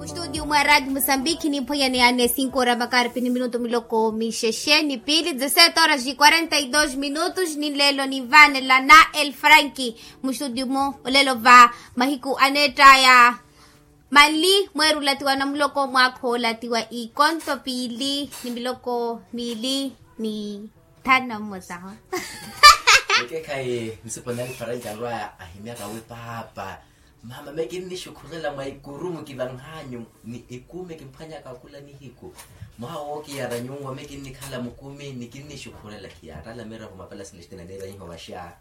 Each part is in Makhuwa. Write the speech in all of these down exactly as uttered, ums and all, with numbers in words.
Studio mwa radio mosambiki nimphwanyaneya ne cinco ora makaripi ni minutu miloko mixexe ni piili dezesete horas de quarenta e dos minutos ni lelo nivanela na el franki. Mu studio mo olelo va mahiku aneettaya manli mweeri olatiwa na muloko mwaakha olatiwa ikonto piili ni miloko miili ni thanu na mmosa ho. Ekekhayi nsipo na el franki alwaya ahimyaka wi paapa. Mama mekinni xukhurela mwa ikurumu kivanhanyu ni ikumi kimphwanyaka khula nihiku. Mwaha wookiyara nyunwa mekinnikhala mukumi nikinni xukhurela khiyarala miravo mapela selestina niira iho vaxa.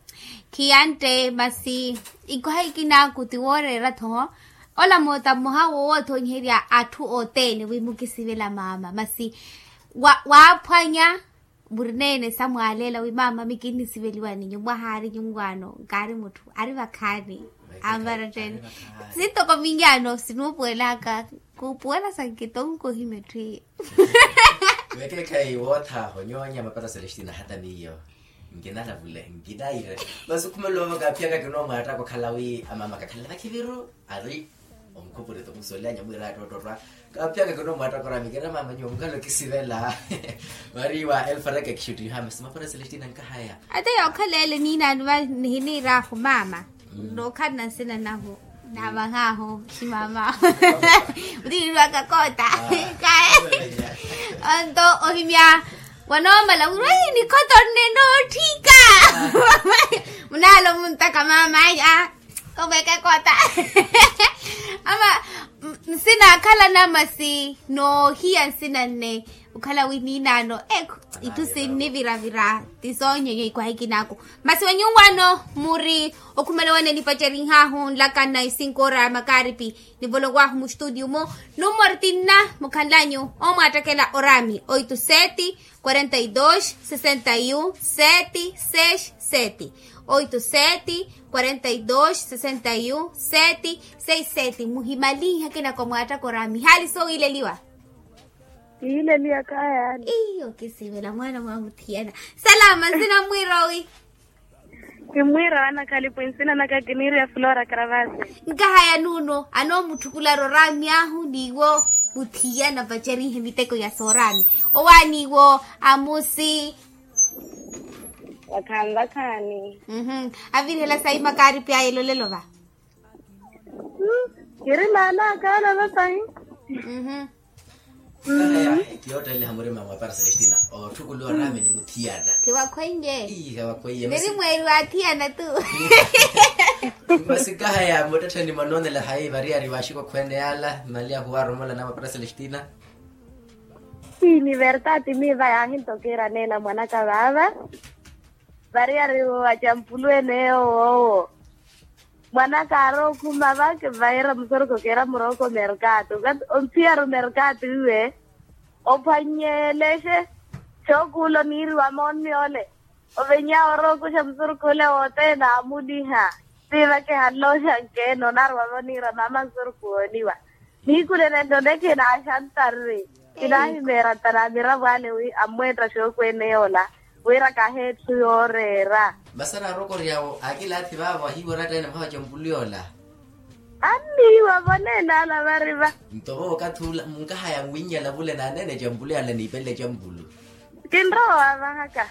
Khiyante masi ikwaha ikinaku ti wooreera thoho. Ola moota mmoha woowoothoonyiherya atthu othene wi mukisivela mama masi waaphwanya. Murineene samwaaleela wi mama mikinnisiveliwa ninyu mwahaari nyunwaano nkaari mutthu ari vakhaani. Ampara tteene sintoko minyaano sinuupuwelaka kuupuwela sankitonko himetthu iyo. Wekeekhayi woothaho nyoonya mapata selestina hata miyo nkinalavule nkinaire. Masi okhumelela ovaka aphiyaka kinoomwattaka okhala wi amama kakhalela vakhiviru ari omukhupurito musolya nyamwira attottotwa. Kaphiyaka kinoomwattaka orami kira mama nyuwo mukhala okisivela. Vari wa elfaraka ekixuttiha masi mapara selestina nkahaya. Ate yookhala ele niinaani va nihiniiraahu mama nookhalana nsina nahu naavahaahu ximama. Mutiiriwaka koota kaye. Onto ohimya wanoomala wira nikhota onne nootthika. Munaala omuntaka mama aya. Komweke kota ama nsina akhala namasi noohiya nsina nne. Okhala wi niinaano ekhu itthu sinniviravira. Ti soonyenye ikwaha ikinaku masi wanyunwaano muri okhumela wane nipacerinhahu nlakana isinkoora ya makaripi. Nivolowaahu mustudio mu numori tinna mukhanlanyu omwaattakela orami oito sete quarenta e dois sessenta e um sete seis sete. Oito sete quarenta e dois sessenta e um sete seis sete. Muhimalinhe akinako mwaattaka orami haali sowiileliwa. Kiileliwa kayaani. Iyo kisivela mwaana mwamuthiyana. Salama nsina mmwiirowi. Kimmwiira wanakhalipu nsina naka kiniiriya flora karavasi. Nkahaya nuuno anoomutthukulari oraami ahu n'iwo muthiyana vacerihe miteko ya sooraami. Owaani iwo amusi. Vakhaani vakhaani. Avirihela sayi makaaripi aya elolelo va. Kiri maana akaana vasahi. Kiyootteliha murima mwa para selestina ootthukuluwa oraami ni muthiyana. Khiwakhweiye. Ii khiwakhweiye masi mweeri waathiyana tu. Masi kahaya muttettheni mwa noonela hayi variyari vaaxikokhwene yaala mali ahuwaromola na mwa para selestina. Ii ni vertati miiva yaahintokeera neela mwanaka vaava. Variyari wa campulu ene yowoowo. Mwanaka aarowa okhuma vake vaira musoroko keera murooko merkato onthiyari omerkato iwe. Ophwanyelexe xookuula oniiriwa moonmi ole. Ovenyawe orookuxa musoroko ole wothene aamuliha. Siivake hanlooxa nkeene onaarowavo oniira mama musoroko wooniwa. Nihikulene nto nekhina axantarri. Kinaahimeera ntana amiravo ale wi ammweetta xookwene yoola wira kaheetthu yooreera. Masi anaarokoryawo akilaathi vaavo ahiiwa oratta ene mwaha wa campulu yoola. Anniiwa voneene ala vari va. Nto vo okathi ula munkahaya nwinyala vule naneene campulu yala niipelele campulu. Kinrowa vahaka.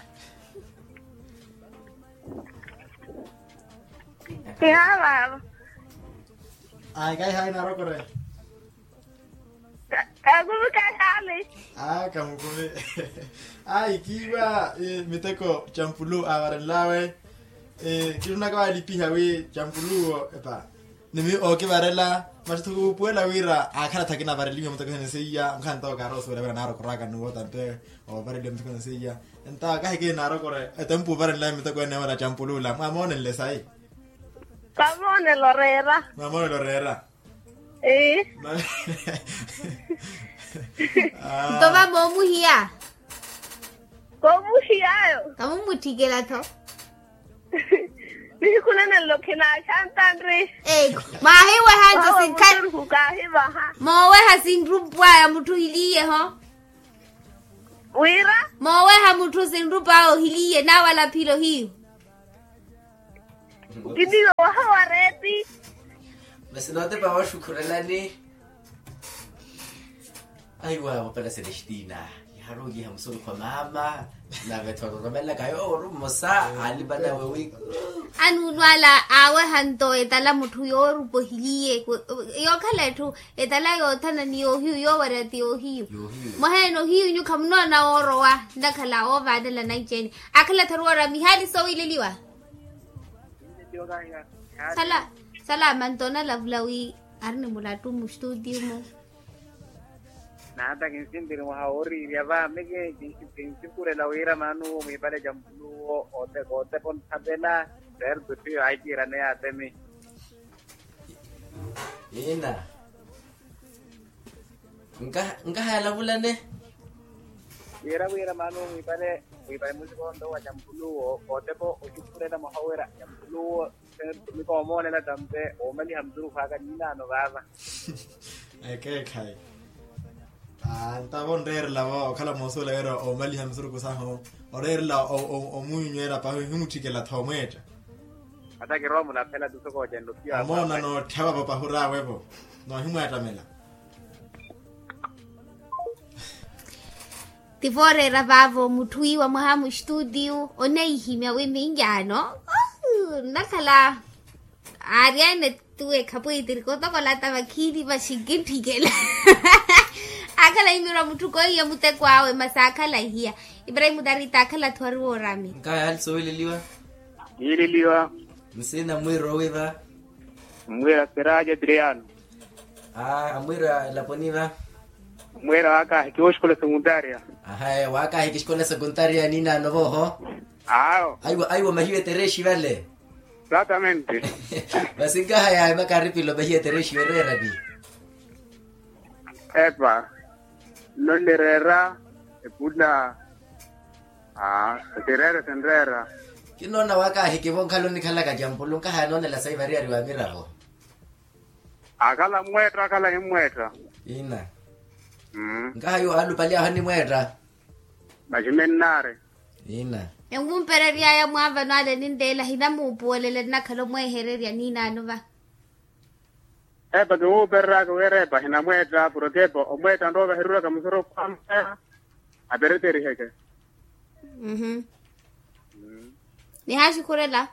Kihaavavo. Ai kaihayi naarokore. Kakuvi kayaali. Aa kamukuvi. Ai kiiwa miteko campulu aavarenlawe. Kitunaka waalipiha wi campuluwo epa nimi ookivarela. Masi thukuupuwela wira aakhala thakinavarelinye mutekosene seiya nkhanto kaaroosuwela wira naarokoraka nuwo tampe. Oovareliwa mutekosene seiya. Entawo kahi kinaarokore etempu ovarenlawe miteko ene wala campulula mwamoonenle sayi. Kamoonelo reera. Mwamoonelo reera. Ii. Nto va moomuhiya. Koomuhiyayo. Kamummutthikela-tho. Nihiku nene nlo khinaaxantanri. Mwaahiweha nto sinkha. Kaahivaha. Mooweha sinrumpwaya mutthu ohiliye-ho. Wira. Mooweha mutthu sinrumpwaya ohiliye naawala philo hiyo. Kiniiwa waha wa reeti. Masi nootepa waxukhurelani. Aiwa mapala selestina, iharukiha musurukhu a mama. Nave tholoromelaka yooru mmosa, alipa nawe wi. Anuulwala aweha nto etala mutthu yoorupa ohiliye. Yookhala etthu etala yoothana ni yoohiyu yoowarya ti yoohiyu. Mwaha ene ohiyu nyu khamunoona woorowa. Nnakhala oovaanela nanci-ene. Akhala tharuwara mihaali sowiileliwa. Sala, sala manto onalavula wi ari ni mulattu mustutio-mo. Naata kinsintiri mwaha wooriirya va miki. Kinsikurela wira maanuwo mwiipale ja mpuluwo. Kootepa onthapela. Seeri tuttiyo ahikiiraneya atemi. Ina. Nkaha yalavulane. Wira wira maanuwo mwiipale mwiipale musikonto wa ja mpuluwo kootepa okikurela mwaha wira ja mpuluwo. Mikoomoolela tampe oomaliha musurukhu aka niinaano vaava. Ekeekhayi. Ntavo onreerela vo okhala moosuwela wira oomaliha musurukhu sahu oreerela omunyunywela pahi ohimutthikela tho omweetta. Ata kirowa mulaphela tu soko ocendokiwa omoona nootthewavo pahuraawevo. Noohimweettamela. Tivooreera vaavo mutthu iwa mwaha mustutiyu oneihimya wi minjaano. Nnakhala aari ene tuwe khapwiitiri kotokola ata vakhiini vaxinkinthikela. Akhala imirwa mutthu koiya muteko awe masi akhala ihiya. Ibrahimu tarita akhala atthu ari woorami. Nkaha yaali sowiileliwa. Yiileliwa. Nsina mwiiro wiva. Mmwiira siraaja tiriyaano. Amwiira elaponi va. Mmwiira waakaahiki woxikola sekuntaria. Ahaye waakaahiki xikola sekuntaria niinaano voho. Awo. Aiwa aiwa mahiwe terexi vale. Exatamente. Masi nkaha yawe makaripilo mahiwe terexi yoreerani. Epa. Nno nnireera epula. Aa. Etireera etinreera. Kinoona waakaahiki vonkhala onikhalaka jampulu nkaha yanoonela sayi variyari wa miravo. Akhala mmweetta akhala himmweetta. Ina. Nkaha yuwo aalupali aho animweetta. Maximennari. Ina. Enwumpereryaya mwaavano ale ninteela hinamuupuwelela nnakhala omweehererya niinaano va. Epa kiwuupereraka wira epa hinamweetta porkepo omweetta nroova hiruuraka musurukhu a mweeha. Apereteriheke. Nihaxikhurela.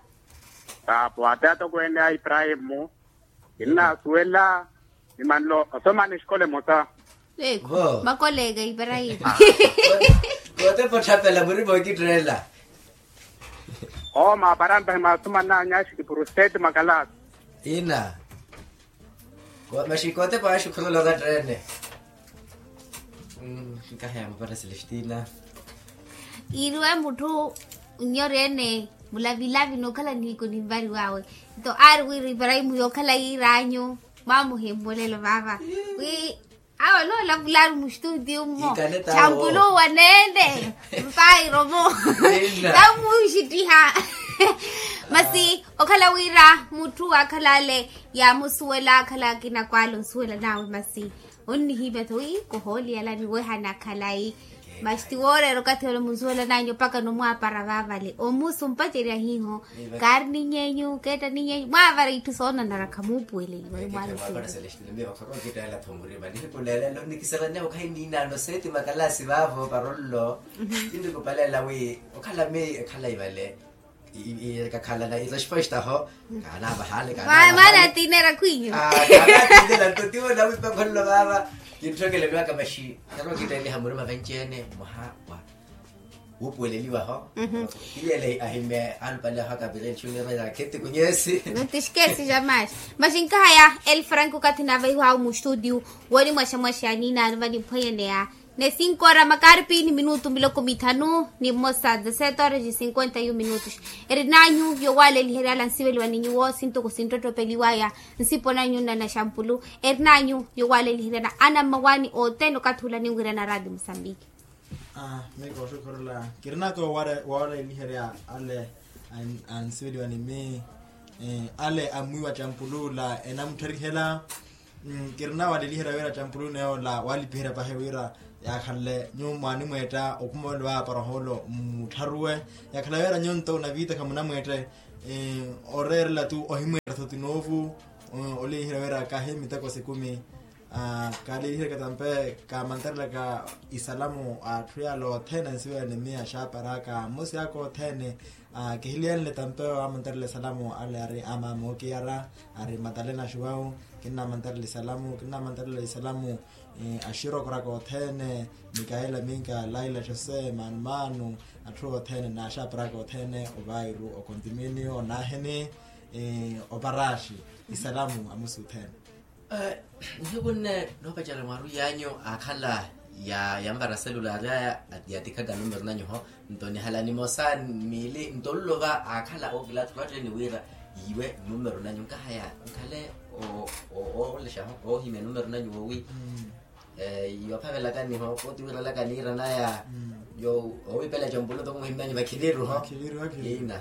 Taapo ate atokweene a iparahimu. Kinnaasuwela. Ni manlo osomani exikola emosa. Makoleeka iparahimu. Kootepa otthapela murima okitteela. Oo maaparampa himaasoman'anyu axi kipuru seti makalasi. Ina. Maxi kootepa axi khulolo katteene. Nkaha yaamupata selestina. Iiriwe mutthu nnyori ene mulavilavi nookhala nihiku ninvariw'awe. Nto aari wira iparahimu yookhala yiir'anyu. Mwamuhimulelo vaava wi awo noolavulari mustutiyo mmo. Champuluwa neene mpairomo. Tamuxittiha. Masi okhala wira mutthu akhala ale yaamusuwela akhala akina kwaala osuwela nawe masi. Onnihimya-tho wi kohooliyalani wehana khalayi. Masi ti wooreera okathi ole munsuwelan'anyu mpaka nomwaapara vaavale omusu mpacerya hiiho. Kaari niny'enyu keetta niny'enyu mwaavara itthu soonanara khamuupuweleliwa. Mwaavara selestine miyo khorookittela-tho murima nihiku neelelo nnikiselaneya okhayi niinaano seeti makalasi vaavo parollo. Kinnikupaleela wi okhala miyo ekhalayi vale. Kakhalana itoxpoxtaho. Kaanaavahaale kaanaavahaale. Mwaana atiinera khwiinyu. Kaanaatiinera nto tiwo nawipa nkhololo vaava. Kintthokele miwaka maxi. Narookitteliha murima vanci-ene mwaha wa wuupuweleliwaho. Kiyele ahimye alupale aho akapireli xunirela kheti kunyesi. Notixkesi jamaxi. Maxi nkahaya elfrank okathi naavaiwawe mustutiyu. Woni mwaxamwaxa niinaano vaniphwenyeneya. Ni cinco ora makaripi ni minutu miloko mithanu ni mmosa dezesete horas e cinquenta e um minutos. Erinanyu yowaleliherya ala nsiveliwa ni nyuwo sintoko sinttottopeliwaya. Nsipo nanyu nnana xampulu erinanyu yowaleliherya ana mmawaani othene okathi ula ninwirana radio musambiki. Mii kooxukhurula kirinaka wowaleliherya ale ansiveliwa ni mii. Ale amwiiwa campulu ula enamuttharihela. Kirina waleliherya wira campuluno yoola walipiherya pahi wira yaakhanle nyuwo mwaanimweetta okhuma ole waaparaholo mmuttharuwe. Yaakhala wira nyuwo nto naviitaka munamweette oreerela tu ohimweetta-tho ti noovu. Oleliherya wira kahi miteko sikumi. Kaaliihireke tampe kaamantarelaka isalamu a atthu yaala othene ansiwene miya axaaparaka mmosi aka othene. Kihiliyanle tampe waamantarela isalamu ale ari amaama ookiyara, ari matalena xuwawu. Kinnaamantarela isalamu kinnaamantarela isalamu axirokoraka othene, mikayela minka laila jose manumaanu, atthu othene n'axaaparaka othene ovairu okontiminio naahini oparaxi isalamu amusi othene. Nihiku nne noopacerya mwaru yaanyu aakhala yanvara selulari aya, yatikhaka numero nanyu ho. Nto nihala nimosa miili nto nlova aakhala ookilaathi owatteni wira yiiwe numero nanyu nkahaya nkhale oolexa ho oohimya numero nanyu woowi. Yoophavelakani ho otiwirelaka niira naya yo owiipela campulu ntoko muhimmyanyu vakhiviru ho. Ina.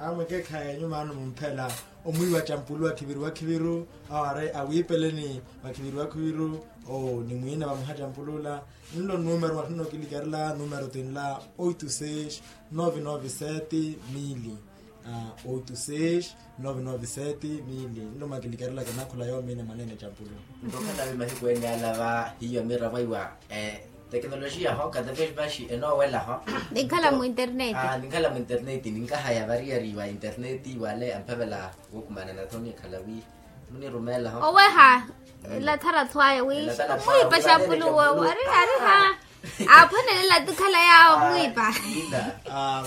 Amwekeekhayi enyu maano mumphela omwiiwa campulu wakhiviru wakhiviru. Awo ari awiipeleni vakhiviru vakhiviru. Ni mwiina vamuha campulu ula. Nlo numero mwatthu nnookilikarela numero tinla oito seis nove nove sete mili. Oito seis nove nove sete mili nlo mwakilikarelaka nakhola yoomiina mwaneene campulu. Nto khatavi mahiku ene ala va hiyo miravo iwa tekinolojiya ho kataveli vaxi enoowela ho. Ninkhala mu interneti. Ninkhala mu interneti ninkahaya variyari wa interneti wale amphavela wukumanana tho nikhala wi munirumeela ho. Oweha elathara thwaya wi mwiipa xampuluwo. Ari ari ha aphwanelela tikhala yaawo mwiipa.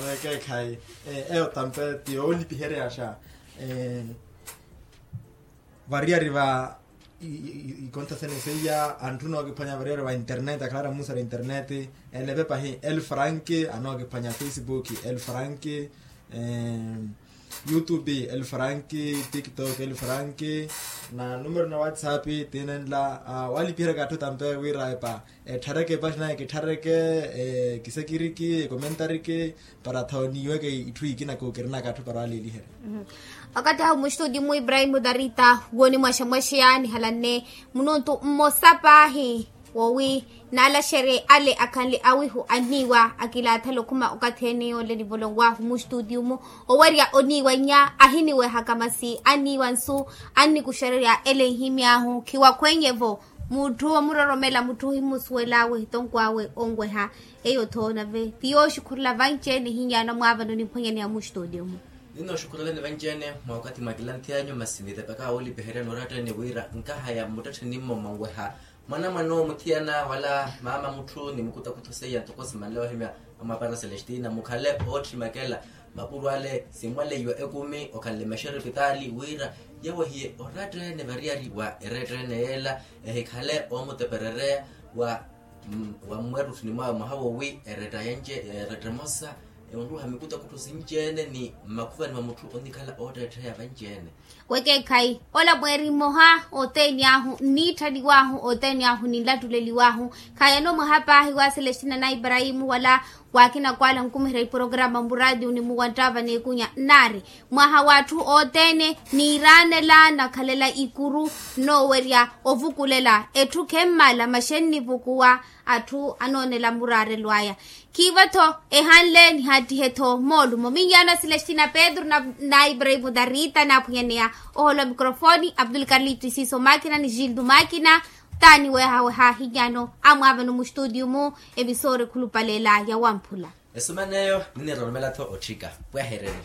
Vekeekhayi eyo tampe ti yoolipiheryaxa. Variyari va ikonta sene seiya anthu nookiphwanya variyari va internet akhala ari amuusara internet. Elepe pahi el frank anookiphwanya facebook el frank, youtube el frank, tiktok el frank, na numero na whatsapp tinenla. Walipiheraka atthu tampe wira epa etthareke epaxi naye kitthareke kisekiriki ekomentariki para thawo niiweke itthu ikina kookirinaka atthu para waliiliherya. Wakathi ahu mustudi mu ibrahimu darita woni mwaxamwaxeya nihalanne mununtu mmosa paahi wowi naalaxerye ale akhanle awihu anniiwa akilaathala okhuma okathi ene yonle nivolonwahu mustudi umu owerya oniiwa nnya ahiniwehaka masi anniiwa nsu annikuxererya ele nhimy'ahu khiwakhwenye-vo. Mutthu omuroromela mutthu ohimusuwel'awe etonkw'awe onweha. Eyo-tho nave ti yooxukhurela vanci-ene ehinyaana mwaavano nimphwanyaneya mustudi umu. Ninooxukhurelani vanci-ene mwa wakathi mwa kilanthi anyu masi nitepaka woolipiheryani oratta-ene wira nkahaya mmuttettheni mmo mwanweha mwanamwane omuthiyana wala maama mutthu ni mukutakutho seiya ntoko simanle ohimya amwapara celestina mukhale oottimakela mapuro ale simwaleiwa ekumi okhanle maxerepitaali wira yawehiye oratta-ene variyari wa eretta-ene yeela ehikhale oomuteperereya wa mmweettuttuni mwawe mwaha wowi eretta emosa enruha mikutakutho sinci-ene ni mmakhuvani mwa mutthu onikhala ootteettheya vanci-ene. Wekeekhayi ola mweeri mmoha othene ahu nniitthaniw'ahu othene ahu ninlattuleliw'ahu. Khaayano mwaha paahi wa celestina na ibrahimu wala waakina kwala nkumiherya iporokarama muraatiyo ni muwanttava n'ekunya nnaari mwaha w'atthu othene niiraanela nakhalela ikuru nnoowerya ovukulela etthu khemmala maxe nnivukuwa. Atthu anoonela muraarelo aya khiivo-tho ehanle nihaattihe-tho moolumo minyaano a celestina pedro na ibrahimu darita naaphwanyaneya ohoolo wa mikrofoni abdul karlito isiiso makina ni gildo makina. Taani weehaweha hinyaano amwaavano mustutiyu-mu episori khulupaleela ya wamphula. Esumana eyo niniroromela-tho otthika pwehereni.